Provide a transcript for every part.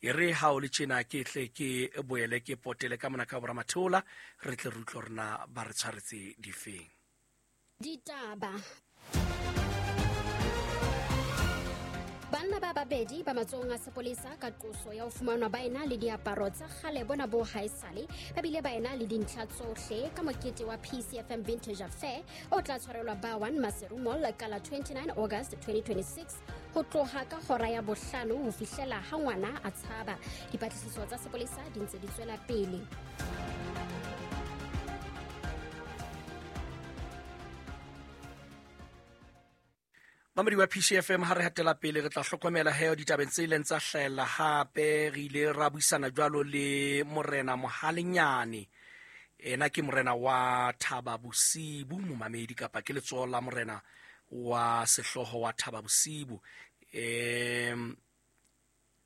E re ha o le tjena ke tle ke boele ke potele ka mona ka boramatheola, re tle re utlwe hore na ba re tshwaretse difeng. Ditaba. Banna ba babedi ba matsohong a sepolesa ka qoso ya ho fumanwa ba ena le diaparo tsa kgale bona bo haesale, ba bile ba ena le dintlha tsohle ka mokete wa PCFM Vintage Affair o tla tshwarelwa ba 1 Maseru Mall ka la 29 August 2026 ho tloha ka hora ya bohlano ho fihlela ha ngwana a tshaba. Dipatlisiso tsa sepolesa di ntse di tswela pele. Mamedi wa PCFM, ha re hatela pele re tla hlokomela he ditabeng tse ileng tsa hlahella hape. Re ile ra buisana jwalo le Morena Mohalenyane, ena ke morena wa Thaba Bosibu, momamedi, kapa ke letsoho la morena wa sehlooho wa Thaba Bosibu.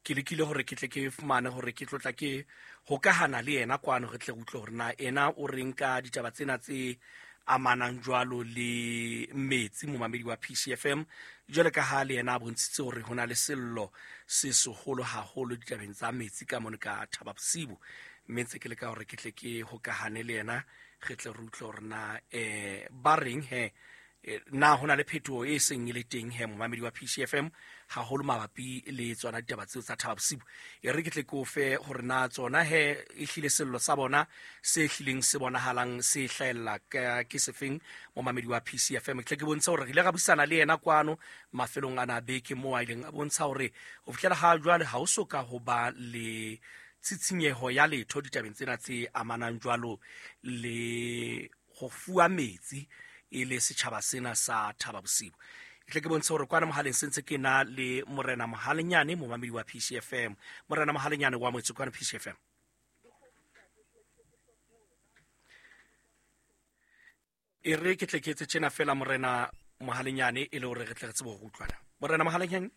Ke lekile hore ke tle ke fumane hore ke tlotla ke hokahana le yena kwano, re tle re utlwe hore na ena o reng ka ditaba tsena tse amanang jwalo le metsi. Momamedi wa PCFM, jwale ka ha le yena a bontshitse hore ho na le sello se seholo haholo ditabeng tsa metsi ka mono ka Thaba Bosibu, mme ntse ke leka hore ke tle ke hokahane le yena, re tle re utlwe hore na ba reng he, na ho na le phetoho e seng e le teng he, momamedi wa PCFM, haholo mabapi le tsona ditaba tseo tsa Thaba Bosibu. E re ke tle ke o fe hore na tsona he e hlile sello sa bona se hlileng se bonahalang se hlahella ke sefeng, momamedi wa PCFM. Ke tle ke bontshe hore re ile ra buisana le yena kwano mafelong ana a beke, moo a ileng a bontsha hore ho fihlela ha jwale ha ho so ka ho ba le tshitshinyeho ya letho ditabeng tsena tse amanang jwalo le ho fuwa metsi e le setjhaba sena sa Thaba Bosibu. Ke tle ke bontshe hore kwana mohaleng se ntse ke na le Morena Mohalenyane, momamedi wa PCFM. Morena Mohalenyane wa motse kwana PCFM. E re ke tle ke etse tjena fela, Morena Mohalenyane, e le hore re tle re tsebe ho utlwana. Morena Mohalenyane.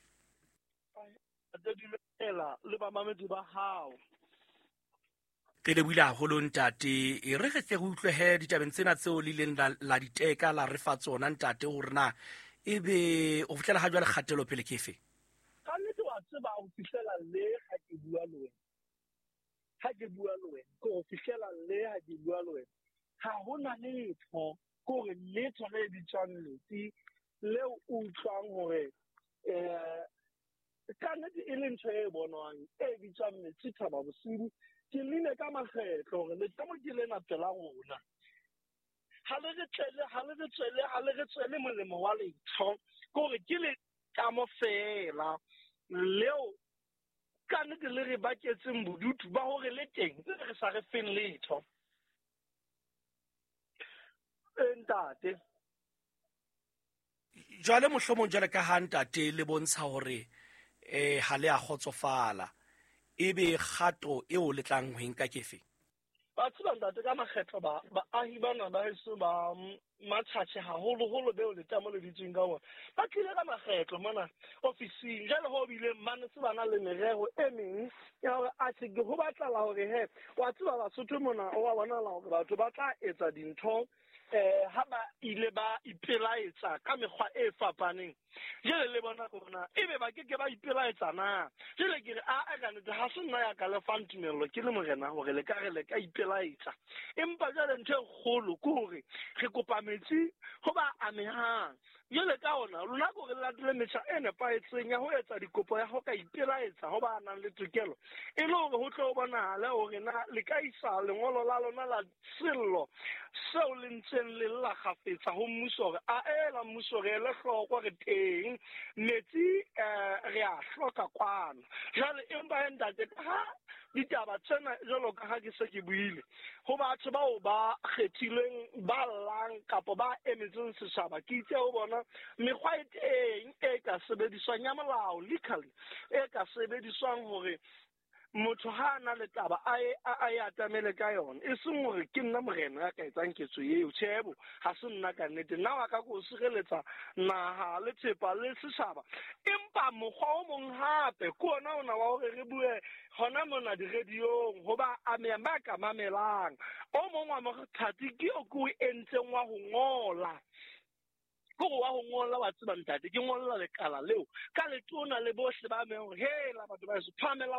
Dumela le bamamedi ba hao. Re lebohile haholo ntate. E re re tle re utlwe he ditabeng tsena tseo le ileng la di teka la re fa tsona ntate, hore na ebe ho fihlela ha jwale kgatelo pele ke efe? Ka nnete wa tseba ho fihlela le ha ke bua le wena. Ha ke bua le wena, ke ho fihlela le ha ke bua le wena. Ha hona letho, ke hore letho le bitswang metsi leo o utlwang hore ka nnete e le ntho e bonwang e bitswang metsi Thaba Bosibu. Ke llile ka makgetlo hore letamo ke lena pela rona. Ha le re tlele, ha le re tswele, ha le re tswele molemo wa letho. Ke hore ke letamo feela leo ka nnete le re baketseng bodutu ba hore le teng, le re sa re feng letho. Ntate. Jwale mohlomong jwale ka ha ntate le bontsha hore ha le a kgotsofala, ebe kgato eo le tlang ho e nka ke efe? Ba tseba ntate ka makgetlo ba baahi bana ba heso ba Matjhatjhe haholoholo beo letamo le dutseng ka bona, ba tlile ka makgetlo mona ofising. Jwale ho bileng ba ne se ba na le merero e meng ya hore atjhe ke ho batlala hore he wa tseba Basotho mona o wa bonahala hore batho ba tla etsa dintho ha ba ile ba ipelaetsa ka mekgwa e fapaneng. Jwale le bona bona ebe ba ke ke ba ipelaetsa na? Jwale ke re a ka nnete ha se nna ya ka le fang tumello ke le morena hore le ka re le ka ipelaetsa, empa jwale ntho e kgolo ke hore re kopa metsi ho ba amehang. Jwale ka ona lona ke hore le latele metjha e nepahetseng ya ho etsa dikopo ya ho ka ipelaetsa ho ba nang le tokelo, e le hore ho tle ho bonahale hore na le ka isa lengolo la lona la sello seo le ntseng le lla kgafetsa ho mmuso hore a ela mmuso re ele hloko re teng metsi re a hloka kwano. Jwale empa he ntate ka ha ditaba tsena jwalo ka ha ke se ke buile ho batho bao ba kgethilweng ba llang kapa ba emetseng setjhaba, ke itse ho bona mekgwa e teng e ka sebediswang ya molao legally e ka sebediswang hore motho ha a na le taba a e atamele ka yona, e seng hore ke nna morena ya ka etsang ketso eo. Tjhebo ha se nna ka nnete, nna wa ka ko sireletsa naha le thepa le setjhaba. Empa mokgwa o mong hape ke ona ona wa hore re bue hona mona di-radio-ong ho ba amehang ba ka mamelang. O mong wa mothati ke o ke o entseng wa ho ngola. Ke hore wa ho ngola wa tseba ntate, ke ngolla lekala leo ka letona le bohle ba amehang hore hela batho ba heso phahamelang.